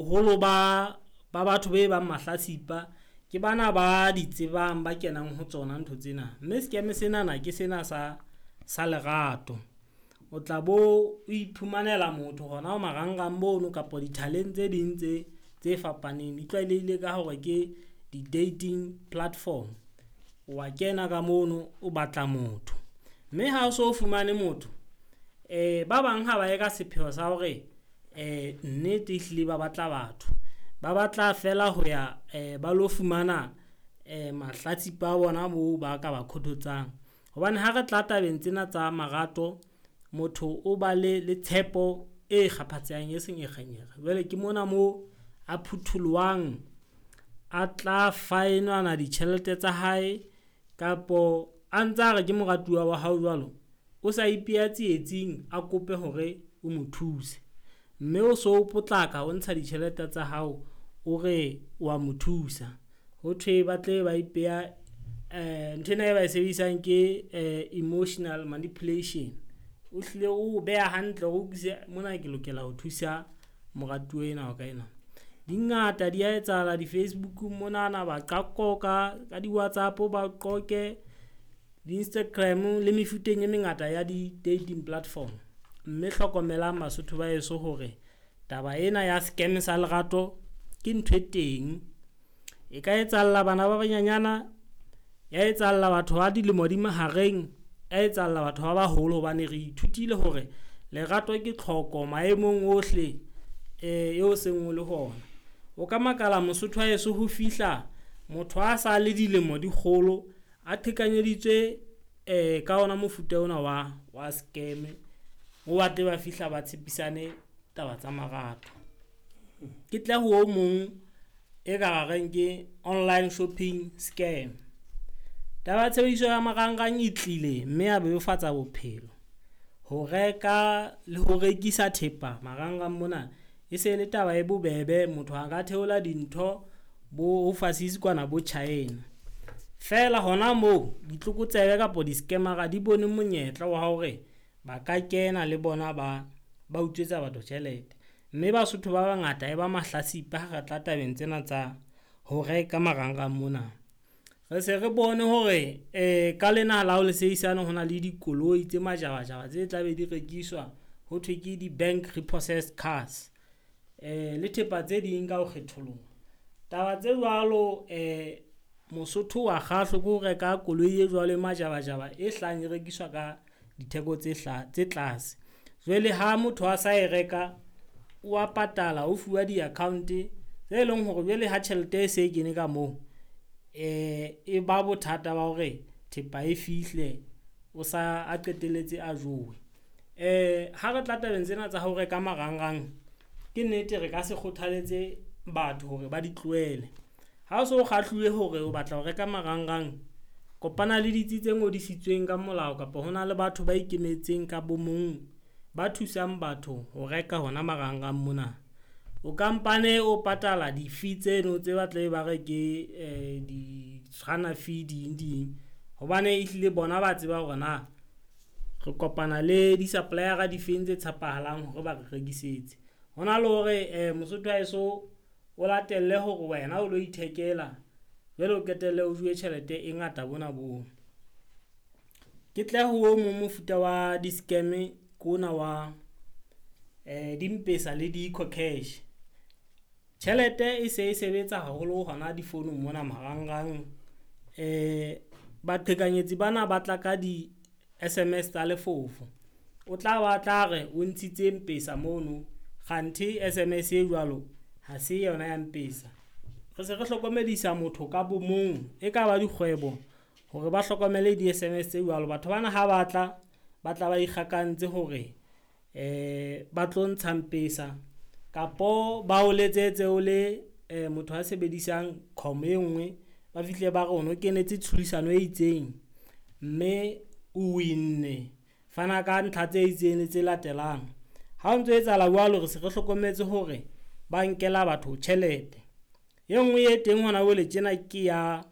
Boholo ba batho be bang mahlatsipa ke bana ba di tsebang, ba kenang ho tsona ntho tsena. Mme scam senana ke sena sa lerato. O tla bo o iphumanela motho hona ho marangrang mono kapa dithaleng tse ding tse fapaneng. Di tlwaelehile ka hore ke di-dating platform. Wa kena ka mono o batla motho, mme ha o so fumane motho ba bang ha ba ye ka sepheo sa hore nnete ehlile ba batla batho. Ba batla feela ho ya ba lo fumana mahlatsipa a bona moo ba ka ba khothotsang. Hobane ha re tla tabeng tsena tsa marato, motho o ba le tshepo e kgaphatsehang e senyekgenyekge. Jwale ke mona moo a phuthulohang, a tla fa enwana ditjhelete tsa hae kapo a ntsa a re ke moratuwa wa hao jwalo. O sa ipeha tsietsing, a kope hore o mo thuse. Mme o so potlaka o ntsha ditjhelete tsa hao, o re wa mo thusa. Ho thwe ba tle ba ipeha nthwena e ba e sebedisang ke emotional manipulation. O hlile o beha hantle hore o utlwisise mona ke lokela ho thusa moratuwa enwa wa ka enwa. Di ngata di a etsahala di-Facebook monana ba ka qoqa ka di-WhatsApp, ba qoqe di-Instagram le mefuteng e mengata ya di-dating platform. Mme hlokomelang Basotho ba heso hore taba ena ya scam sa lerato ke ntho e teng. E ka etsahalla bana ba banyenyana, ya etsahalla batho ba dilemo di mahareng, ya etsahalla batho ba baholo. Hobane re ithutile hore lerato ke tlhoko maemong ohle eo seng o le ho ona. O ka makala Mosotho wa heso ho fihla motho a sa le dilemo di kgolo, a qhekanyeditswe ka ona mofuta ona wa scam. O batle ba fihla ba tshepisane taba tsa marato. Ke tle ho o mong e ka ra reng ke online shopping scam. Taba ya tshebediso ya marangrang e tlile, mme ya bebofatsa bophelo. Ho reka le ho rekisa thepa marangrang mona e se le taba e bobebe. Motho a ka theola dintho bo overseas kwana bo China. Feela hona moo ditlokotsebe kapa di-scammer-a di bone monyetla wa hore ba ka kena le bona ba utswetsa batho tjhelete. Mme Basotho ba bangata e ba mahlatsipa ha re tla tabeng tsena tsa ho reka marangrang mona. Re se re bone hore ka lena la ho le sehisane ho na le dikoloi tse majabajaba tse tla be di rekiswa. Ho thwe ke di-bank repossessed cars le thepa tse ding ka ho kgetholoha. Taba tse jwalo Mosotho wa kgahlwa ke ho reka koloi e jwalo e majabajaba e hlahang e rekiswa ka ditheko tse tse tlase. Jwale ha motho a sa e reka, o wa patala, o fuwa di-account tse leng hore jwale ha tjhelete e se e kene ka moo, e ba bothata ba hore thepa e fihle o sa a qetelletse a jowe. Ha re tla tabeng tsena tsa ho reka marangrang, ke nnete re ka se kgothaletse batho hore ba di tlohele. Ha o so kgahluwe hore o batla ho reka marangrang, kopana le ditsi tse ngodisitsweng ka molao kapa hona le batho ba ikemetseng ka bo mong ba thusang batho ho reka hona marangrang mona. O kampane o patala di-fee tseno tse ba tlabe ba re ke di fee ding ding. Hobane ehlile bona ba tseba hore na re kopana le di-supplier-a di feng tse tshepahalang hore ba re rekisetse. Ho na le hore Mosotho wa heso o latelle hore wena o lo ithekela, jwale o qetelle o jowe tjhelete e ngata bona boo. Ke tle ho o mong mofuta wa di-scam ke ona wa dimpesa le di-Ecocash. Tjhelete e se e sebetsa haholo hona difounung mona marangrang. Baqhekanyetsi bana ba tla ka di-SMS tsa lefofo. O tla ba tla re o ntshitse mpesa mono, kganthe SMS e jwalo ha se yona ya mpesa. Re se re hlokomedisa motho ka bo mong, e kaba dikgwebo hore ba hlokomele di-SMS tse jwalo. Batho bana ha ba tla, ba tla ba ikgakantse hore ba tlo ntsha mpesa kapo ba o letsetse o le motho a sebedisang com e nngwe. Ba fihle ba re ono kenetse tlhodisano e itseng, mme o win-ne. Fana ka ntlha tse itseng le tse latelang. Ha o ntso etsahala jwalo, re se re hlokometse hore ba nkela batho tjhelete. E nngwe e teng hona jwale tjena ke ya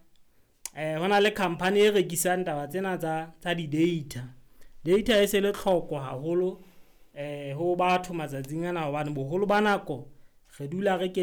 hona le company e rekisang taba tsena tsa di-data. Data e se le tlhoko haholo ho batho matsatsing ana hobane boholo ba nako Re dula re kene.